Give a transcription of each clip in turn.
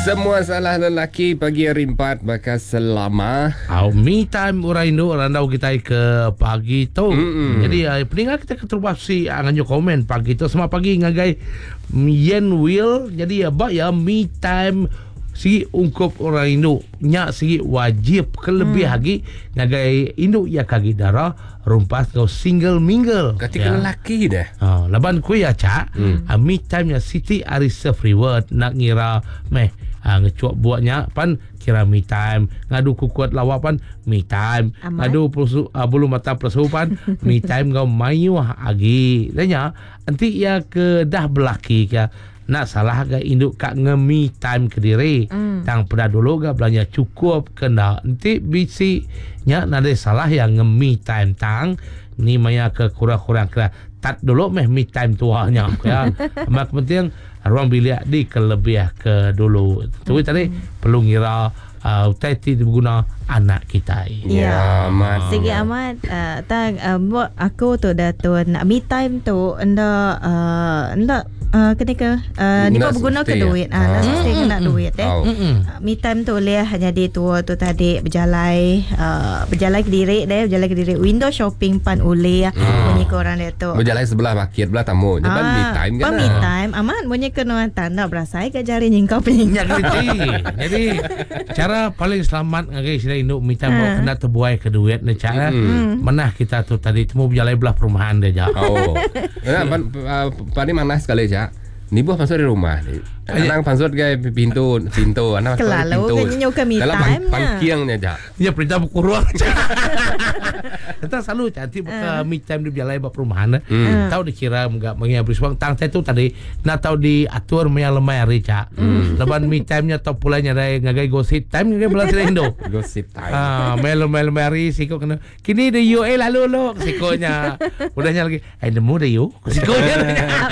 Semua salah lelaki pagi hari empat baka selama. Au me time orang indu randau kitai ke pagi tu. Mm-mm. Jadi uh, peninga kita keterubah si uh, nganjuk komen pagi tu selamat pagi ngagai Yen Will. Jadi uh, ba ya me time sigi ungkup orang indu nya sigi wajib kelebih hmm. agi ngagai indu ya kagi dara rumpas ngau single mingle. Kati ya. lelaki deh. Ha, laban ku ya cak, hmm. uh, me time nya siti ari self reward nak ngira meh uh, ngecuk buatnya pan kira me time, ngadu kukut lawa pan me time, Amat. ngadu pelusu, uh, bulu mata pelesu pan me time ngau mayuh agi. Nya enti ya ke dah belaki ke Enda salah ga indu ka nge me time kediri. Tang peda dulu ga belanja chukup ke enda. Enti bisi nya nadai salah iya nge me time tang ni maya ke kurang-kurang kira tat dulu meh me time tua nya ku iya. Amat ke penting ruang bilik dikelebih ke dulu. Tu tadi perlu ngira uhh utai ti diguna anak kitai. Ya amat. Sigi amat uhh tang uhh aku tu dah tun me time tu enda uhh enda uhh keni ke uhh niba beguna ke duit uhh enda mesti ngena duit eh. Me time tu ulih nyadi tua tu tadi bejalai uhh bejalai kediri deh bejalai kediri window shopping pan ulih munyi ko orang diatu. Bejalai sebelah bakit belah tamu nya pan me time kan. Pan me time amat munyi ke nuan tang enda berasai ga jari nyingkau penyingkau. Nya gerenti. Jadi cara paling selamat ngagai sida indu minta ha. kena terbuai ke duit ne cara hmm. manah kita tu tadi temu berjalai belah perumahan dia ja. Oh. Nah, pan, uh, paling manah sekali ja. Nibuh masuk di rumah ni. Anang pansut ke pintu pintu anang masuk di pintu. Dalam pang, pangking nya ja. Nya perintah bekurung. Tentang selalu cantik buka uh. me time di berjalai ba perumahan. Mm. Tau dikira mega mengia beriswang tang tu tadi Enda tau diatur maya lemai hari cha. Mm. Laban me time nya tau pulai nyadai ngagai gosip time ngagai bala sida indu. Gosip time. Ah, maya lemai-lemai hari siko kena kini de you eh lalu lo siko nya. Udah nya lagi eh nemu de you siko nya.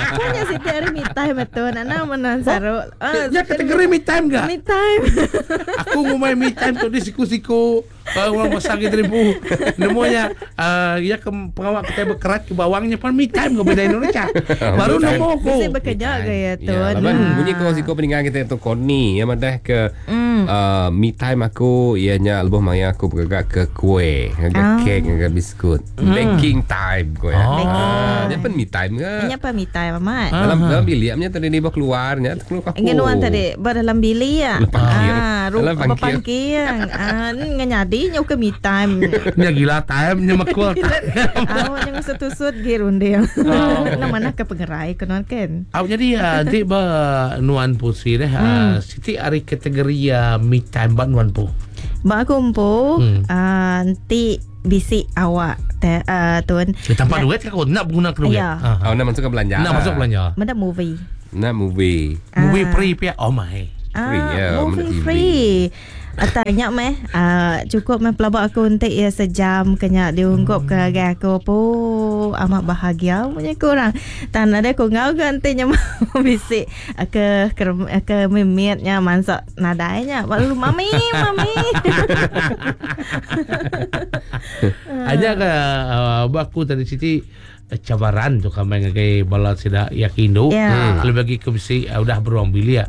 Aku nya siti hari me time tu nak nama menan saru. Ah, ya kategori me time ga. Me time. Aku ngumai me time tu di siku-siku. Orang besar kita ribu. Nemu nya uh, ya ke pengawa kita berkerat ke bawang nya pan me time ke beda Indonesia. Baru nemu aku. Mesti bekerja ke ya tu. Ya, laban hmm. bunyi ko siko peninggal kita tu Koni ya madah ke mm. uh, me time aku iya nya lebuh maya aku bergerak ke kue, ngaga oh. kek, ngaga biskut. Mm. Baking time ko ya. Oh. Ah, nya pan me time ke. Nya pan me time amat. Dalam dalam bilik nya tadi ni keluar nya keluar aku. Ngen nuan tadi ba dalam bilik ya. Ah, dalam pangking. Ah, ngenyadi nya ukai me time. Nya gila time nya mekul time. Au nya ngesut-tusut gi runding. Oh. Nama manah ke pengerai ke nuan kan. Au jadi uh, enti ba nuan pusi deh hmm. uh, siti ari kategori uh, me time ba nuan pu. Ba aku empu hmm. uh, enti bisi awak te, uh, tuan. Eh, tanpa duit ke aku nak guna ke duit. Ya. Uh. Oh, nak masuk ke belanja. Nak masuk belanja. Meda movie. Nak movie. Movie free pia. Oh my. Free ah, ya. Movie free. Atau nya meh uh, cukup meh pelaba aku untuk ia sejam kenya diungkup ke agai aku po amat bahagia punya kurang. Tan ada aku ngau ke enti nya bisi ke ke, ke mimitnya mansak nadai nya. Lalu mami mami. Aja ke uh, aku tadi Siti cabaran tu kami ngagai bala sida ya ke indu. Yeah. Lebih lagi ke bisi uh, udah beruang bilik.